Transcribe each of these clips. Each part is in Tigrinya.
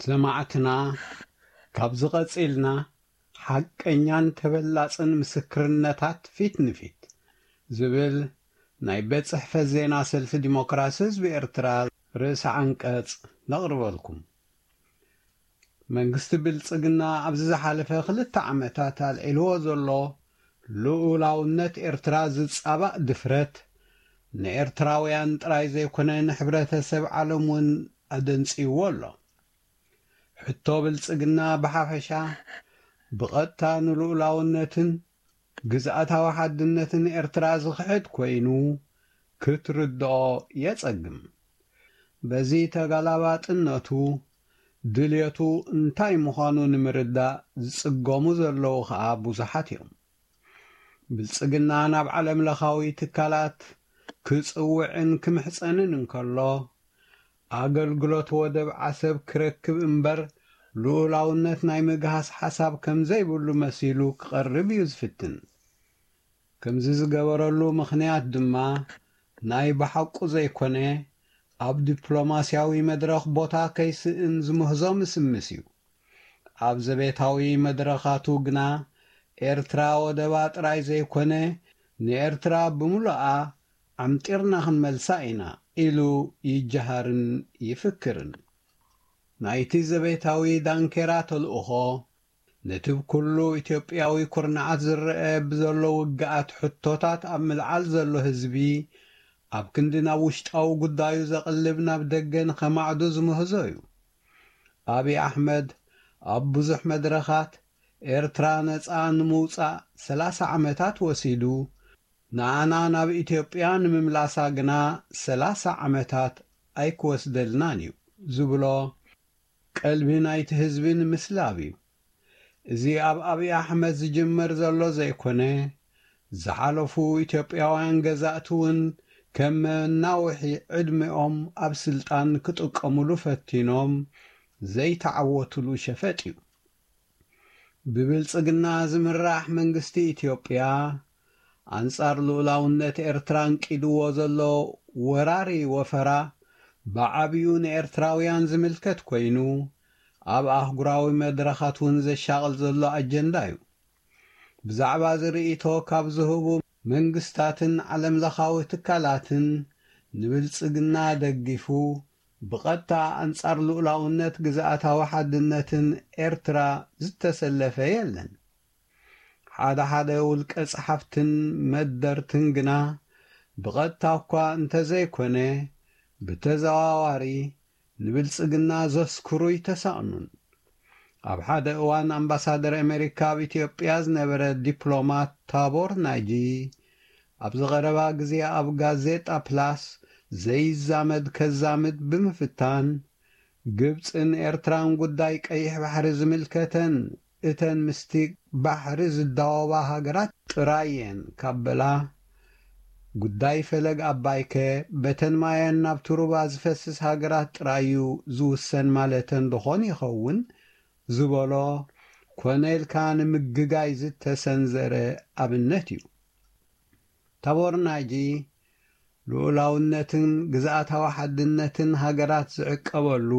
ሰማዕትና፣ ካብዚ ቀጺልና ሓቀኛን ተበላጽን ምስክርነታት ፊት ንፊት ዝብል ናይ ቤት ጽሕፈት ዜና ሰልፊ ዲሞክራሲ ህዝቢ ኤርትራ ርእሰ ዓንቀጽ ነቕርበልኩም። መንግስቲ ብልጽግና ኣብዚ ዝሓለፈ ክልተ ዓመታት ኣልዒልዎ ዘሎ ልኡላውነት ኤርትራ ዝጻባእ ድፍረት ንኤርትራውያን ጥራይ ዘይኮነ ንሕብረተሰብ ዓለም እውን ኣደንጽይዎ ኣሎ። ሕቶ ብልጽግና ብሓፈሻ ብቐጥታ ንልኡላውነትን ግዝኣታዊ ሓድነትን ኤርትራ ዝኽሕድ ኮይኑ ክትርድኦ የጸግም። በዚ ተጋላባጥነቱ ድልየቱ እንታይ ምዃኑ ንምርዳእ ዝጽገሙ ዘለዉ ኸኣ ብዙሓት እዮም። ብልጽግና ናብ ዓለም ለኻዊ ትካላት ክጽውዕን ክምሕጸንን እንከሎ፣ ኣገልግሎት ወደብ ዓሰብ ክረክብ እምበር ልኡላውነት ናይ ምግሃስ ሓሳብ ከም ዘይብሉ መሲሉ ክቐርብ እዩ ዝፍትን። ከምዚ ዝገበረሉ ምኽንያት ድማ ናይ ብሓቁ ዘይኮነ፣ ኣብ ዲፕሎማስያዊ መድረኽ ቦታ ከይስእን ዝምህዞ ምስምስ እዩ። ኣብ ዘቤታዊ መድረኻቱ ግና ኤርትራ ወደባ ጥራይ ዘይኮነ፣ ንኤርትራ ብምሉኣ ዓምጢርና ክንመልሳ ኢና ኢሉ ይጀሃርን ይፍክርን። ናይቲ ዘቤታዊ ዳንኬራ ተልእኾ፣ ነቲ ብኩሉ ኢትዮጵያዊ ኩርናዓት ዝረአ ብዘሎ ውግኣት ሕቶታት ኣብ ምልዓል ዘሎ ህዝቢ፣ ኣብ ክንዲ ናብ ውሽጣዊ ጉዳዩ ዘቕልብ ናብ ደገ ንኸማዕዱ ዝምህዞ እዩ። ኣብይ ኣሕመድ ኣብ ብዙሕ መድረኻት ኤርትራ ነጻ ንምውጻእ ሰላሳ ዓመታት ወሲዱ፣ ንኣና ናብ ኢትዮጵያ ንምምላሳ ግና ሰላሳ ዓመታት ኣይክወስደልናን እዩ ዝብሎ ቀልቢ ናይቲ ህዝቢ ንምስላብ እዩ። እዚ ኣብ ኣብይ ኣሕመድ ዝጅመር ዘሎ ዘይኮነ፣ ዝሓለፉ ኢትዮጵያውያን ገዛእቲ እውን ከም መናውሒ ዕድሜኦም ኣብ ስልጣን ክጥቀሙሉ ፈቲኖም ዘይተዓወቱሉ ሸፈጥ እዩ። ብብልጽግና ዝምራሕ መንግስቲ ኢትዮጵያ፣ ኣንጻር ልኡላውነት ኤርትራ ኣንቂድዎ ዘሎ ወራሪ ወፈራ፣ ብዓቢኡ ንኤርትራውያን ዝምልከት ኮይኑ፣ ኣብ ኣህጉራዊ መድረኻት እውን ዘሻቕል ዘሎ ኣጀንዳ እዩ። ብዛዕባ እዚ ርእይቶ ካብ ዝህቡ መንግስታትን ዓለም ለኻዊ ትካላትን፣ ንብልጽግና ደጊፉ ብቐጥታ ኣንጻር ልኡላውነት ግዝኣታዊ ሓድነትን ኤርትራ ዝተሰለፈ የለን። ሓደ ሓደ ውልቀ ጸሓፍትን መደርትን ግና ብቐጥታ እኳ እንተዘይኮነ፣ ብተዘዋዋሪ ንብልጽግና ዘስክሩ ኣይተሳእኑን። ኣብ ሓደ እዋን ኣምባሳደር ኣሜሪካ ኣብ ኢትዮጵያ ዝነበረ ዲፕሎማት ታቦር ናጂ፣ ኣብዚ ቀረባ ግዜ ኣብ ጋዜጣ ፕላስ ዘይዛመድ ከዛምድ ብምፍታን፣ ግብጽን ኤርትራን ጉዳይ ቀይሕ ባሕሪ ዝምልከተን እተን ምስቲ ባሕሪ ዝዳወባ ሃገራት ጥራይ እየን ካብ በላ፣ ጉዳይ ፈለግ ኣባይከ በተን ማየን ናብቲ ሩባ ዝፈስስ ሃገራት ጥራይ እዩ ዝውሰን ማለተን ዶኾን ይኸውን ዝበሎ ኮነ ኢልካ ንምግጋይ ዝተሰንዘረ ኣብነት እዩ። ታቦር ናጂ፣ ልኡላውነትን ግዝኣታዊ ሓድነትን ሃገራት ዝዕቀበሉ፣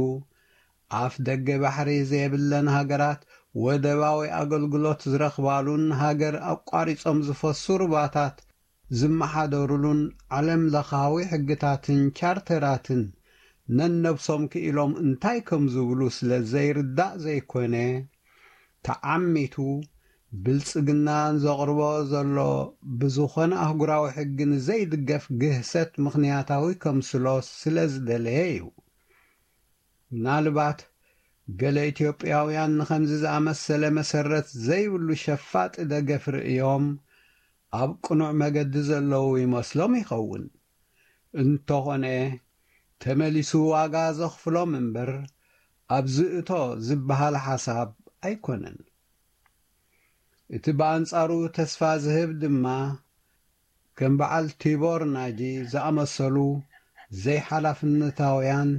ኣፍ ደገ ባሕሪ ዘየብለን ሃገራት ወደባዊ ኣገልግሎት ዝረኽባሉን ሃገር ኣቋሪጾም ዝፈሱ ሩባታት ዝመሓደሩሉን ዓለም ለኻዊ ሕግታትን ቻርተራትን ነነብሶም ክኢሎም እንታይ ከም ዝብሉ ስለ ዘይርዳእ ዘይኮነ፣ ተዓሚቱ ብልጽግና ዘቕርቦ ዘሎ ብዝኾነ ኣህጉራዊ ሕጊ ንዘይድገፍ ግህሰት ምኽንያታዊ ከምስሎ ስለ ዝደለየ እዩ። ምናልባት ገለ ኢትዮጵያውያን ንኸምዚ ዝኣመሰለ መሰረት ዘይብሉ ሸፋጢ ደገፍ ርእዮም ኣብ ቅኑዕ መገዲ ዘለዉ ይመስሎም ይኸውን። እንተኾነ፣ ተመሊሱ ዋጋ ዘኽፍሎም እምበር፣ ኣብዚ እቶ ዝበሃል ሓሳብ ኣይኮነን። እቲ ብኣንጻሩ ተስፋ ዝህብ ድማ፣ ከም በዓል ቲቦር ናጂ ዝኣመሰሉ ዘይሓላፍነታውያን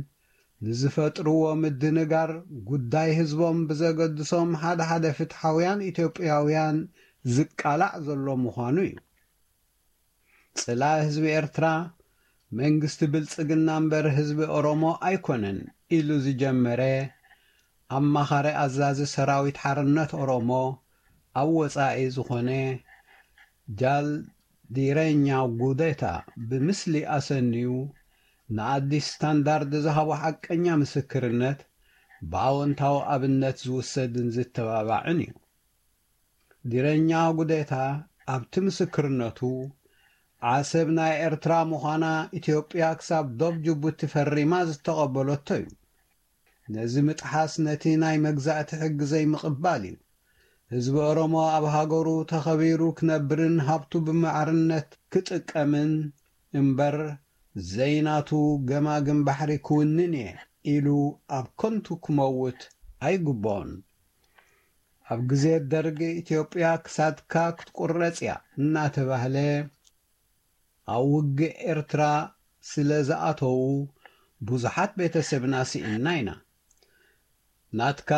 ንዝፈጥርዎ ምድንጋር፣ ጉዳይ ህዝቦም ብዘገድሶም ሓደ ሓደ ፍትሓውያን ኢትዮጵያውያን ዝቃላዕ ዘሎ ምዃኑ እዩ። ጽላኢ ህዝቢ ኤርትራ መንግስቲ ብልጽግና እምበር ህዝቢ ኦሮሞ ኣይኮነን ኢሉ ዝጀመረ፣ ኣማኻሪ ኣዛዚ ሰራዊት ሓርነት ኦሮሞ ኣብ ወጻኢ ዝኾነ ጃል ዲረኛ ጉዴታ ብምስሊ ኣሰንዩ ንኣዲስ ስታንዳርድ ዝሃቦ ሓቀኛ ምስክርነት ብኣወንታዊ ኣብነት ዝውሰድን ዝተባባዕን እዩ። ዲረኛ ጉዴታ ኣብቲ ምስክርነቱ ዓሰብ ናይ ኤርትራ ምዃና ኢትዮጵያ ክሳብ ዶብ ጅቡቲ ፈሪማ ዝተቐበለቶ እዩ። ነዚ ምጥሓስ ነቲ ናይ መግዛእቲ ሕጊ ዘይምቕባል እዩ። ህዝቢ ኦሮሞ ኣብ ሃገሩ ተኸቢሩ ክነብርን ሃብቱ ብማዕርነት ክጥቀምን እምበር ዘይናቱ ገማግም ባሕሪ ክውንን እየ ኢሉ ኣብ ከንቱ ክመውት ኣይግብኦን። ኣብ ግዜ ደርግ ኢትዮጵያ ክሳድካ ክትቁረጽ እያ እናተባህለ ኣብ ውግእ ኤርትራ ስለ ዝኣተዉ ብዙሓት ቤተሰብና ስኢንና ኢና። ናትካ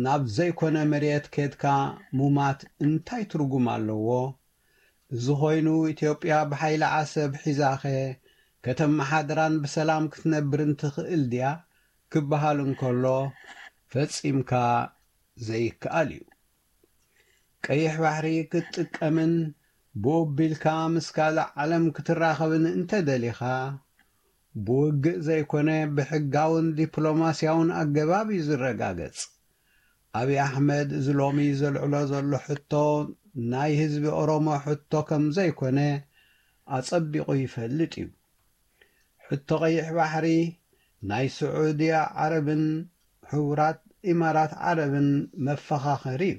ናብ ዘይኮነ መሬት ኬድካ ሙማት እንታይ ትርጉም ኣለዎ? እዚ ኮይኑ ኢትዮጵያ ብሓይሊ ዓሰብ ሒዛኸ ከተመሓድራን ብሰላም ክትነብርን ትኽእል ድያ ክበሃል እንከሎ ፈጺምካ ዘይከኣል እዩ። ቀይሕ ባሕሪ ክትጥቀምን ብኡ ኣቢልካ ምስ ካልእ ዓለም ክትራኸብን እንተደሊኻ ብውግእ ዘይኮነ ብሕጋውን ዲፕሎማስያውን ኣገባብ እዩ ዝረጋገጽ። ኣብይ ኣሕመድ እዚ ሎሚ ዘልዕሎ ዘሎ ሕቶ ናይ ህዝቢ ኦሮሞ ሕቶ ከም ዘይኮነ ኣጸቢቑ ይፈልጥ እዩ። ሕቶ ቀይሕ ባሕሪ ናይ ስዑድያ ዓረብን ሕቡራት ኢማራት ዓረብን መፈኻኸሪ እዩ።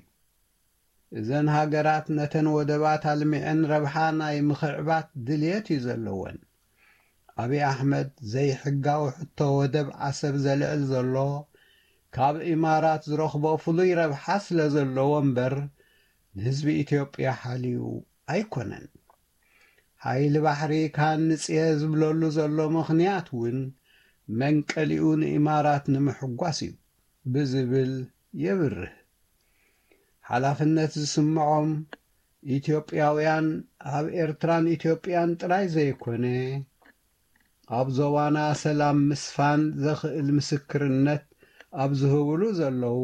እዘን ሃገራት ነተን ወደባት ኣልሚዐን ረብሓ ናይ ምኽዕባት ድልየት እዩ ዘለወን። ኣብይ ኣሕመድ ዘይሕጋዊ ሕቶ ወደብ ዓሰብ ዘልዕል ዘሎ ካብ ኢማራት ዝረኽቦ ፍሉይ ረብሓ ስለ ዘለዎ እምበር ንህዝቢ ኢትዮጵያ ሓልዩ ኣይኮነን። ሓይሊ ባሕሪ ክሃንጽ እየ ዝብለሉ ዘሎ ምኽንያት እውን መንቀሊኡ ንኢማራት ንምሕጓስ እዩ ብዝብል የብርህ። ሓላፍነት ዝስምዖም ኢትዮጵያውያን ኣብ ኤርትራን ኢትዮጵያን ጥራይ ዘይኮነ ኣብ ዞባና ሰላም ምስፋን ዘኽእል ምስክርነት ኣብ ዝህብሉ ዘለዉ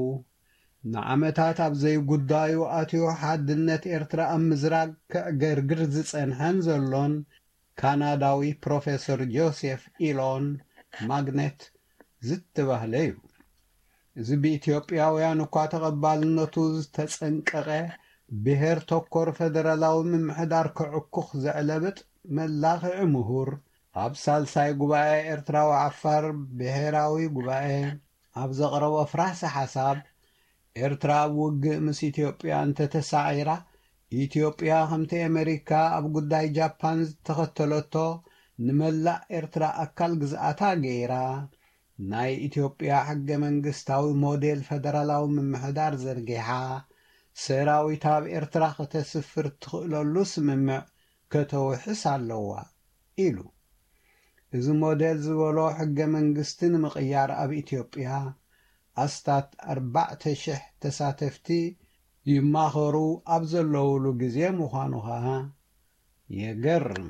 ንዓመታት ኣብ ዘይጉዳዩ ኣትዩ ሓድነት ኤርትራ ኣብ ምዝራግ ከዕገርግር ዝጸንሐን ዘሎን ካናዳዊ ፕሮፌሰር ጆሴፍ ኢሎን ማግኔት ዝተባህለ እዩ። እዚ ብኢትዮጵያውያን እኳ ተቐባልነቱ ዝተጸንቀቐ ብሄር ተኮር ፈደራላዊ ምምሕዳር ከዕኩኽ ዘዕለብጥ መላኽዒ ምሁር ኣብ ሳልሳይ ጉባኤ ኤርትራዊ ዓፋር ብሄራዊ ጉባኤ ኣብ ዘቕረቦ ፍራስ ሓሳብ ኤርትራ ኣብ ውግእ ምስ ኢትዮጵያ እንተተሳዒራ ኢትዮጵያ ከምቲ ኣመሪካ ኣብ ጉዳይ ጃፓን ዝተኸተለቶ ንመላእ ኤርትራ ኣካል ግዝኣታ ገይራ ናይ ኢትዮጵያ ሕገ መንግስታዊ ሞዴል ፈደራላዊ ምምሕዳር ዘርጊሓ ሰራዊታ ኣብ ኤርትራ ከተስፍር ትኽእለሉ ስምምዕ ከተውሕስ ኣለዋ ኢሉ። እዚ ሞዴል ዝበሎ ሕገ መንግስቲ ንምቕያር ኣብ ኢትዮጵያ ኣስታት ኣርባዕተ ሽሕ ተሳተፍቲ ይማኸሩ ኣብ ዘለውሉ ግዜ ምዃኑ ኸኣ የገርም።